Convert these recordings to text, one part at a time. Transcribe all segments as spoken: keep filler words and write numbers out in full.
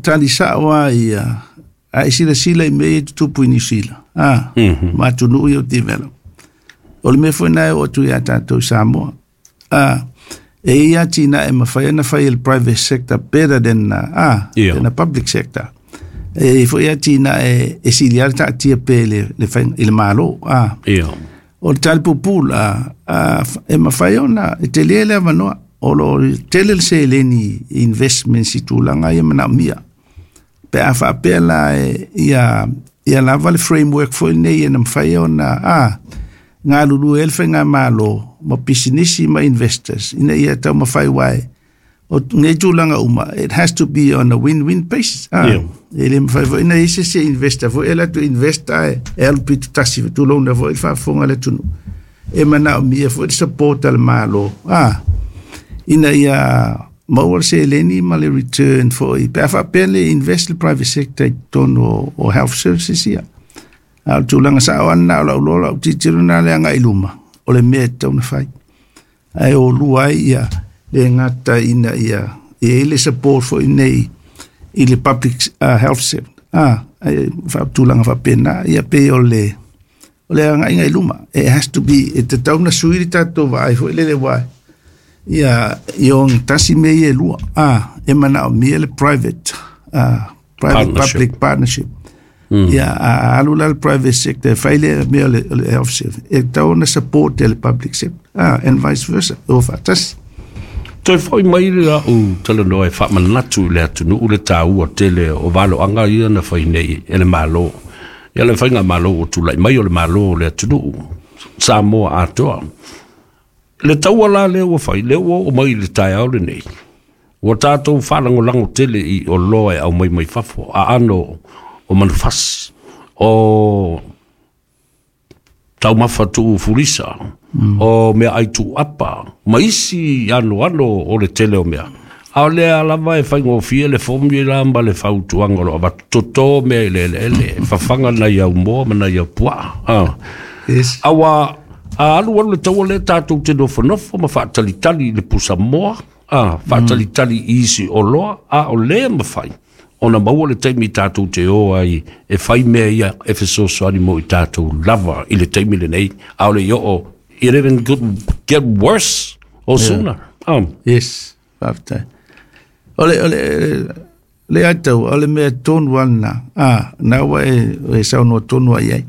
tali sa'o a ia a e silasila i mea ia e tutupu i Niu Sila a ma atunuu ia ua develop. O le mea foi lena e oo atu iā tatou i Samoa. A e i ai atinae e mafai ona fai e le private sector better than a Ia. than the public sector. E i ai foi atinae e sili lava le taatia pea i le, le faiga, i le Malo. A Ia. o le tali puupuu la, a, e mafai ona e tele le avanoa. O lo o tele le seleni i investments i tulaga ia manaomia. Pe a faapea la e, ia, ia lava le framework foi lenei e na mafai ona a, galulue ai le faigamalo ma pisinisi ma investors ina ia taumafai aua o nei tulaga uma, it has to be on a win-win basis. Ah, Yeah. E le mafai foi na i ai se isi e investor foi e alu atu invest ae e alu pito tasi tulouna foi le faafofoga a le atunuu. E manaomia foi le support a le Malo ah, ina ia maua le seleni ma le return foi pe a faapea le invest le private sector i totonu o, o health services ia. A o le tulaga sao lava lena o lau iloa, lau tilotilo lena le agai i luma, o le mea e tatau ona fai. Ae o lua ai ia le gata ina ia i ai le support foi nei i le public uh, health sector. Ah, ai tulaga faapena, ia pei o le o le agaiga i luma. It has to be, e tatau ona sui le tatou vaai foi lele aua ia i ogatasi mea ia e lua. Ah, e manaomia le private uh, private Partnership. Public partnership. Mm. Ia, a alu la le private sector e fai le mea o le, o le health service, e tatau ona support e le public sector. Ah, and vice versa, o faatasi. Toe foi mai le a'u talanoa e faamanatu i le atunuu le taua tele o valoaga ia na fai nei e le Malo. Ia le faigamalo ua tulai mai o le Malo o le atunuu Samoa atoa. Le taua la lea ua fai, lea ua oo mai i le taeao lenei, ua tatou faalagolago tele i oloa e aumai mai fafo, aano o manufasi, o taumafa tuu fulisa, o meaai tuuapa, ma isi anoano o le tele o mea. A o lea lava e faigofie le formula ma le fautuaga o lo o avatu, toto mea i le eleele, fafaga nai au moa ma nai au puaa. Ah. Yes. Aua a alu alu le taua lea tatou te nofonofo ma faatalitali i le pusamoa, a, faatalitali i isi oloa, a o lea mafai ona maua le taimi tatou te o ai e fai mea ia e fesoasoani mo i tatou lava i le taimi lenei, a o le i oo, it even could get worse or sooner. Um, Yes, faafetai. O le, o le, le atau, o le mea tonu lava lena, a, na ua e, e saunoa tonu ai ai.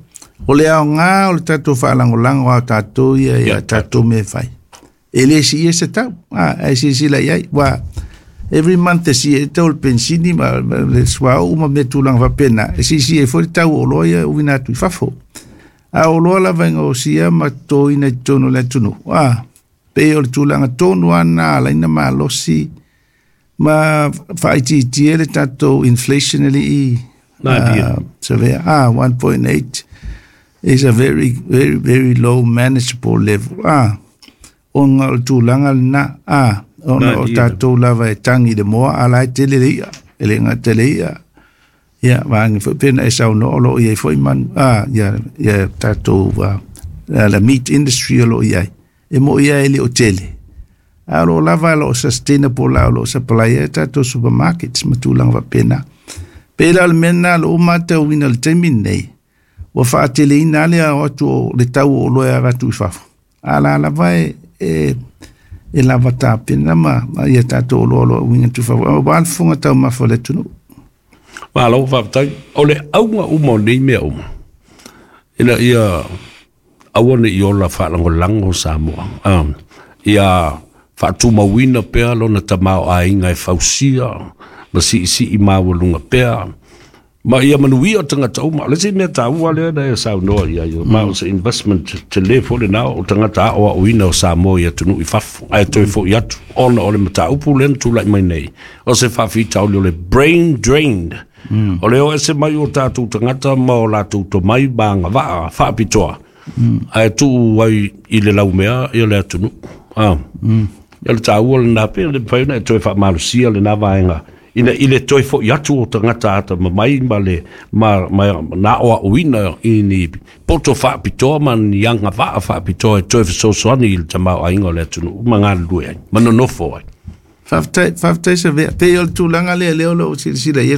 O le aoga o le tatou faalagolago a tatou ia ia tatou mea e fai. E le siia se tau, a, ae silasila i ai, ua every month e siia ai le tau o le penisini ma le suauu ma mea tulaga faapena, e siisia ai foi le tau o oloa ia e uina atu i fafo. A o oloa lava e gaosia ma totoina i totonu o le atunuu, a, pei o le tulaga tonu lava lena a ala ai ona malosi ma faaitiitia le tatou inflation e le i savea. Ah, one point eight is a very, very, very low manageable level. Ah, ona o le tulaga lena. Ah, ona o tatou lava e tagi i le moa, a la e tele le i'a, e le gata i le i'a. Ia, vaega foi pei ona e saunoa o lo o i ai foi manu, ah, ia, ia tatou, uh, la meat industry o lo o i ai. E mo'i lava e le o tele. A o lo o lava, o lo o sustainable la, o lo o supply ai tatou supermarkets ma tulaga faapena. Pei la o le mea lena o lo o matauina i le taimi lenei, ua faateleina lava le ao atu o le tau o oloa e avatu i fafo. A la lava e, e, e lava tapena ma, ma ia tatou oloa o lo o uiga atu i fafo. Aua le fofoga taumafa o le atunuu. Malo faafetai. O le auga uma o nei mea uma, ina ia aua ne i ola faalagolago Samoa, ia faatumauina pea lona tamaoaiga e fausia ma siisii maualuga pea, ma ia manuia tagata uma. O le isi mea taua lea na e saunoa i ai, ma o se investment tele foi lena o tagata aoaoina o Samoa i atunuu i fafo, ae toe foi atu ona o le mataupu lea na tulai mai nei, o se faafitauli o le brain drain. Mm. O le o ese mai o tatou tagata ma o latou tomai ma agavaa faapitoa, mm. ae tuu ai i le laumea ia le atunuu. Ah. Mm. Ia le taua lena pe le mafai ona e toe faamalosia lena vaega ina i le toe foi atu o tagata atamamai ma le ma, ma na aoaoina i ni poto faapitoa ma ni agavaa faapitoa e toe fesoasoani i le tamaoaiga o le atunuu ma galulue ai ma nonofo ai. Faafetai, faafetai Savea. Pei o le tulaga lea lea o lo o silasila i ai.